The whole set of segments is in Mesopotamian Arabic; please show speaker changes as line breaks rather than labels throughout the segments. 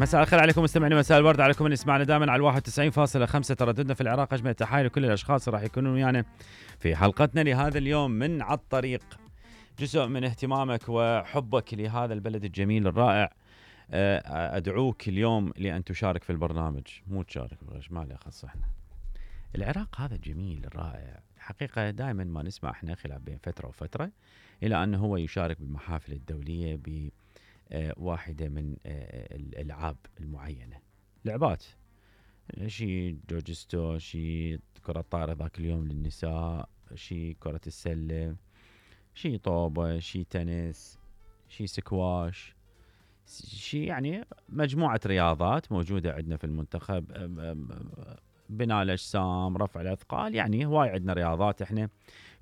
مساء الخير عليكم مستمعينا، مساء الورد عليكم من يسمعنا دائما على 91.5 ترددنا في العراق. اجمل التحايا لكل الاشخاص راح يكونون ويانا في حلقتنا لهذا اليوم من على الطريق. جزء من اهتمامك وحبك لهذا البلد الجميل الرائع، ادعوك اليوم لان تشارك في البرنامج. مو تشارك ما له خص احنا. العراق هذا الجميل الرائع حقيقه دائما ما نسمع احنا خلاف بين فتره وفتره الى انه هو يشارك بالمحافل الدوليه ب واحدة من الألعاب المعينة، لعبات شي جوجستو، شي كرة طائرة ذاك اليوم للنساء، شي كرة السلة، شي طوبة، شي تنس، شي سكواش، شي يعني مجموعة رياضات موجودة عندنا في المنتخب. بناء الأجسام، رفع الأثقال، يعني هواي عندنا رياضات احنا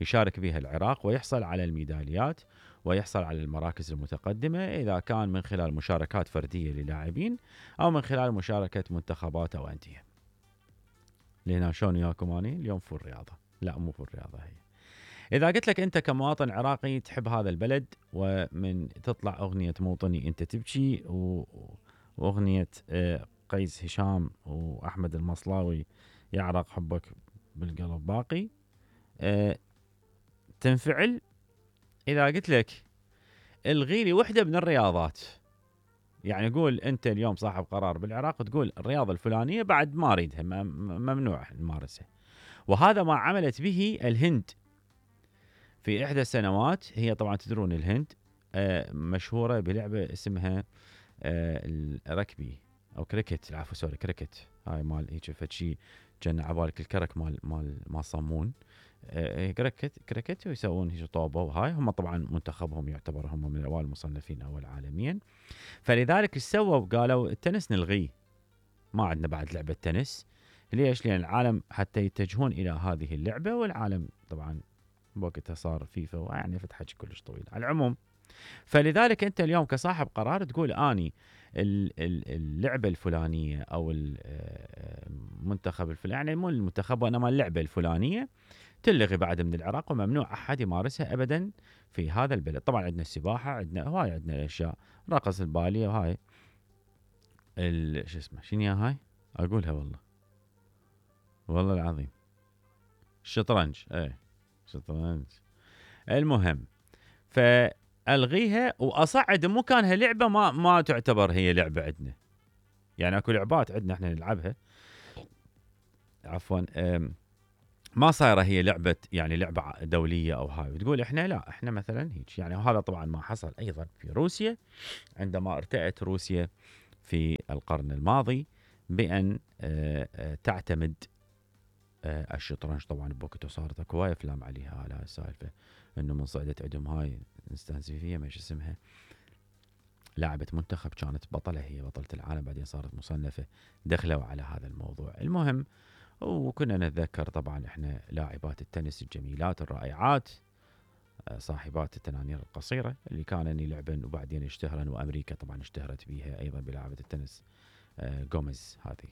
يشارك بها العراق ويحصل على الميداليات ويحصل على المراكز المتقدمة، إذا كان من خلال مشاركات فردية للاعبين أو من خلال مشاركة منتخبات أو أندية. لهنا شلون وياكم أني اليوم فول رياضة؟ لا مو فول رياضة هي. إذا قلت لك أنت كمواطن عراقي تحب هذا البلد، ومن تطلع أغنية موطني أنت تبكي وأغنية قيس هشام وأحمد المصلاوي يعرق حبك بالقلب باقي، تنفعل. إذا قلت لك الغي لي وحدة من الرياضات، يعني قول أنت اليوم صاحب قرار بالعراق تقول الرياضة الفلانية بعد ما أريدها، ممنوع نمارسها. وهذا ما عملت به الهند في إحدى السنوات. هي طبعا تدرون الهند مشهورة بلعبة اسمها الركبي أو كريكت، العفو سوري كريكت. هاي مال هيك فتشي جن عبالك الكرك مال صمون. كريكت ويسوون هيك طوبة، وهاي هم طبعا منتخبهم يعتبر هم من الأوائل المصنفين أول عالميا. فلذلك ايش سووا؟ قالوا التنس نلغيه، ما عندنا بعد لعبة تنس. ليش؟ لأن العالم حتى يتجهون إلى هذه اللعبة، والعالم طبعا بوقتها صار فيفا ويعني فتحة كلش طويل على العموم. فلذلك أنت اليوم كصاحب قرار تقول أني اللعبة الفلانية أو المنتخب الفلاني، يعني مو المنتخب وإنما اللعبة الفلانية تلغي بعد من العراق وممنوع أحد يمارسها أبدا في هذا البلد. طبعا عندنا السباحة، عندنا هواي، عندنا أشياء، رقص البالية وهاي شو اسمه شنو هاي أقولها والله العظيم الشطرنج، شطرنج. المهم فألغيها وأصعد مكانها لعبة ما تعتبر هي لعبة عندنا. يعني اكو لعبات عندنا احنا نلعبها، عفوا ما صايره هي لعبه، يعني لعبه دوليه او هاي، وتقول احنا لا احنا مثلا هيك يعني. وهذا طبعا ما حصل ايضا في روسيا عندما ارتأت روسيا في القرن الماضي بان تعتمد الشطرنج. طبعا بوقته صارت اكو هواي افلام عليها على السالفه، انه من صعدت عندهم هاي نستانسيفيه ما اسمها، لاعبة منتخب كانت بطلة، هي بطلة العالم، بعدين صارت مصنفة، دخلوا على هذا الموضوع. المهم وكنا نتذكر طبعا احنا لاعبات التنس الجميلات الرائعات، صاحبات التنانير القصيرة اللي كانوا يلعبن وبعدين اشتهرن، وامريكا طبعا اشتهرت بيها ايضا بلاعبة التنس غوميز هذه.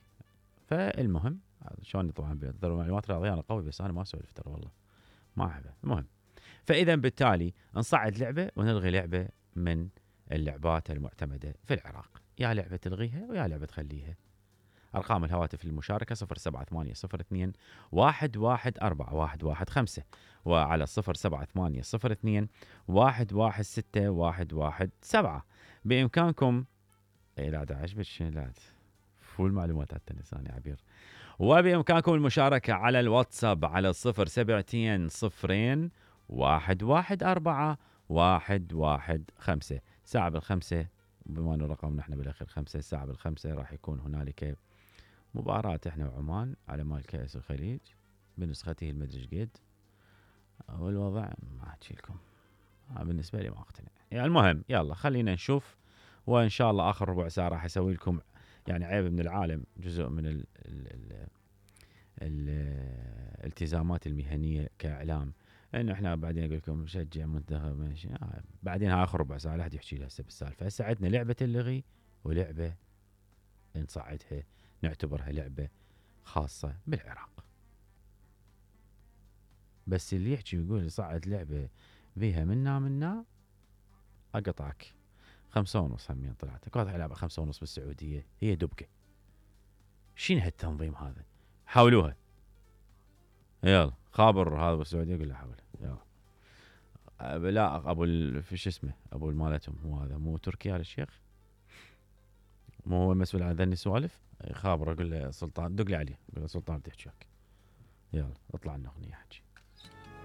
فالمهم شلون طبعا بيقدروا معلومات رياضية، انا قوي بس انا ما اسولف ترى والله ما احبه. المهم فاذا بالتالي نصعد لعبة ونلغي لعبة من اللعبات المعتمدة في العراق، يا لعبة تلغيها ويا لعبة تخليها. أرقام الهواتف للمشاركة 078-02-114-115 وعلى 078-02-116-117. بإمكانكم لا داعش لا فول معلومات على التنساني عبير. وبإمكانكم المشاركة على الواتساب على 072-0114-115. ساعة بالخمسة، بما أنه رقم نحن بالأخير 5، الساعة بالخمسة راح يكون هنالك مباراة احنا وعمان على مال كأس الخليج بنسخته المدرج قد، والوضع ما احكي لكم بالنسبة لي ما اقتنع. يعني المهم يلا خلينا نشوف، وان شاء الله اخر ربع ساعة راح اسوي لكم يعني عيب من العالم، جزء من الالتزامات المهنية كاعلام، انه احنا بعدين اقول لكم نشجع منتخب ماشي. بعدين هاي اخر ربع ساعة لا احد يحكي لي هسه بالسالفة. هسه عندنا لعبة اللغي ولعبة نصعدها نعتبرها لعبة خاصة بالعراق. بس اللي يحكي ويقول صعد لعبة بيها منا اقطعك. 5:30 همين طلعت. اكو واحد يلعب 5:30 بالسعوديه، هي دبكه. شنو هالتنظيم هذا؟ حاولوها. يلا خابر هذا بالسعوديه يقول له حاول. يلا لا ابو في شو اسمه ابو مالتهم، هو هذا مو تركي هذا الشيخ، مو هو مسؤول عن ذني السوالف. خابر اقول له سلطان، دق لي عليه قول له سلطان بدي احكي وياك. يلا اطلع لنا اغنيه احكي.